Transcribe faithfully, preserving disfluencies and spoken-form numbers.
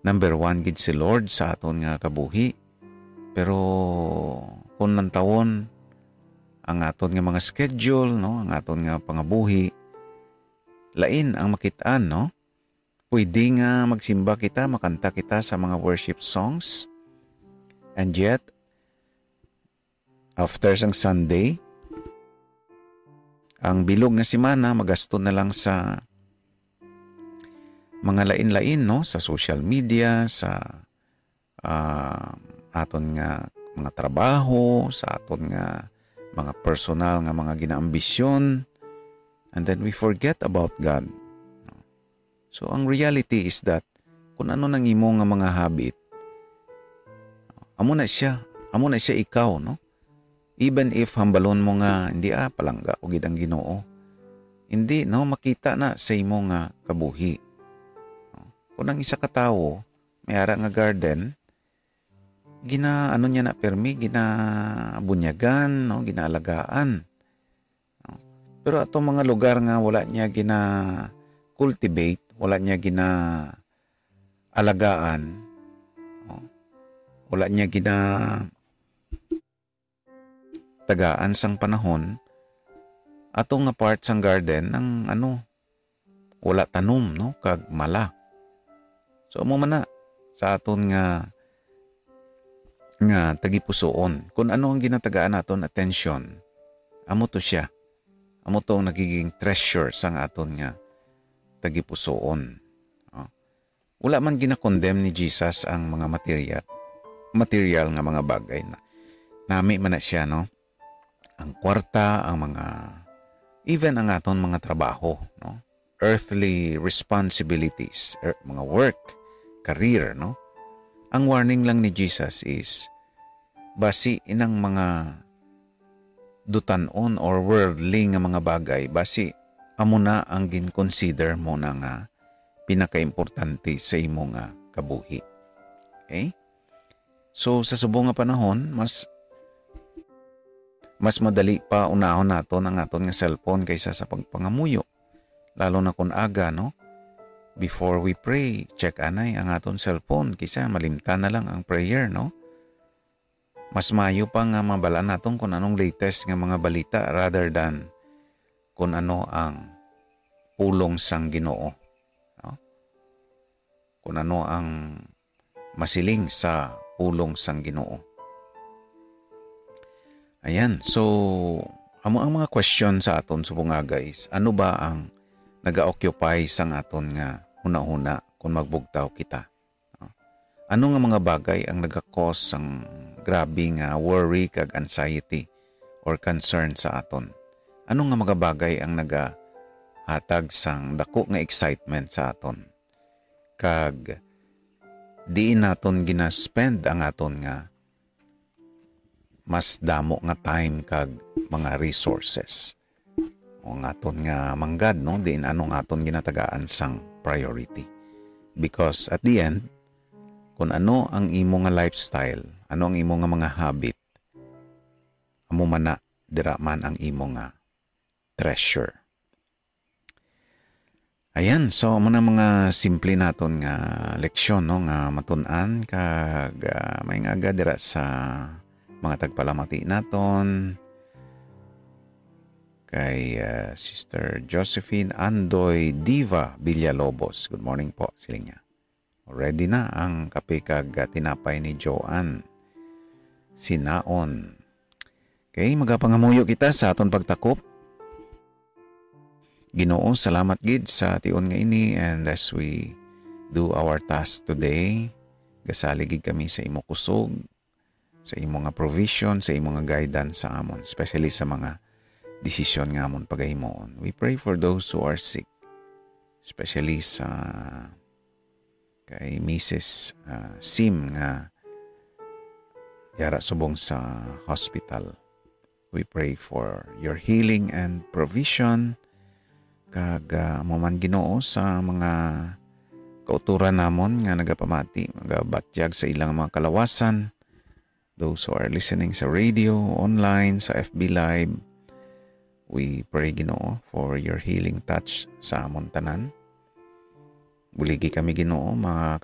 number one gid si Lord sa aton nga kabuhi. Pero kung lantawon ang aton nga mga schedule, no, ang aton nga pangabuhi, lain ang makit-an, no? Pwede nga magsimba kita, makanta kita sa mga worship songs. And yet, after sang Sunday, ang bilog nga semana magasto na lang sa mga lain-lain, no? Sa social media, sa, ah, aton nga mga trabaho, sa aton nga mga personal nga mga ginaambisyon. And then we forget about God. So, ang reality is that kung ano nang imo nga mga habit, amo na siya, amo na siya ikaw, no? Even if hambalon mo nga, "Hindi, ah, palangga ko gid ang Ginoo." Hindi, no? Makita na sa imo nga kabuhi. Kung ang isa ka tawo, may ara nga garden, gina-, ano niya na permi, ginabunyagan, no? Ginaalagaan. No? Pero atong mga lugar nga wala niya gina-cultivate, wala niya gina-alagaan, no? Wala niya gina-, tagaan sang panahon, ato nga part sang garden ang ano, wala tanom, no, kag mala. So, amo man na sa aton nga, nga tagipusoon. Kung ano ang ginatagaan naton atensyon, amo to siya. Amo to ang nagiging treasure sang aton nga tagipusoon. No? Wala man ginakondem ni Jesus ang mga material, material nga mga bagay na nami man na siya, no? Ang kwarta, ang mga, even ang aton mga trabaho, no? Earthly responsibilities, er, mga work, career, no? Ang warning lang ni Jesus is, basi inang mga dutan-on or worldly nga mga bagay, basi amo na ang gin-consider mo na nga pinakaimportante sa imo nga kabuhi. Okay? So, sa subong nga panahon, mas, mas madali pa unahon naton ang aton nga cellphone kaysa sa pagpangamuyo. Lalo na kung aga, no? Before we pray, check anay ang aton cellphone, kisa malimtan na lang ang prayer, no? Mas maayo pa nga mabal-an naton kung anong latest nga mga balita rather than kung ano ang pulong sang Ginoo, no? Kung ano ang masiling sa pulong sang Ginoo. Ayan, so, amo ang mga question sa aton subong nga, guys. Ano ba ang naga-occupy sang aton nga hunahuna kung magbugtaw kita? No? Ano nga mga bagay ang naga-cause sang grabe nga worry kag anxiety or concern sa aton? Ano nga mga bagay ang nagahatag sang dako nga excitement sa aton? Kag diin naton gina-spend ang aton nga mas damo nga time kag mga resources? O ang aton nga manggad, no? Diin ano nga aton ginatagaan sang priority? Because at the end, kung ano ang imo nga lifestyle, ano ang imo nga mga habit, amo man na, dira man ang imo nga treasure. Ayan, so amo na mga simple naton nga leksyon, no, nga matun-an kag, ah, may nga aga dira sa mga tagpalamati naton. Kay, ah, Sister Josephine Andoy Diva Villalobos. Good morning po, siling niya. Ready na ang kape kag, ah, tinapay ni Joanne. Sinaon. Okay, magapangamuyo kita sa aton pagtakop. Ginoo, salamat gid sa tion nga ini, and as we do our task today, gasalig gid kami sa imo kusog, sa imo nga provision, sa imo nga guidance sa amon, especially sa mga desisyon nga amon pagahimuon. We pray for those who are sick, especially sa kay Misis, ah, Sim nga yara subong sa hospital. We pray for your healing and provision. Kag, ah, amo man, Ginoo, sa mga kautoran namon nga nagapamati, nagabatyag sa ilang mga kalawasan, those who are listening sa radio, online, sa F B Live, we pray, Ginoo, for your healing touch sa amon tanan. Buligi kami, Ginoo, makabawi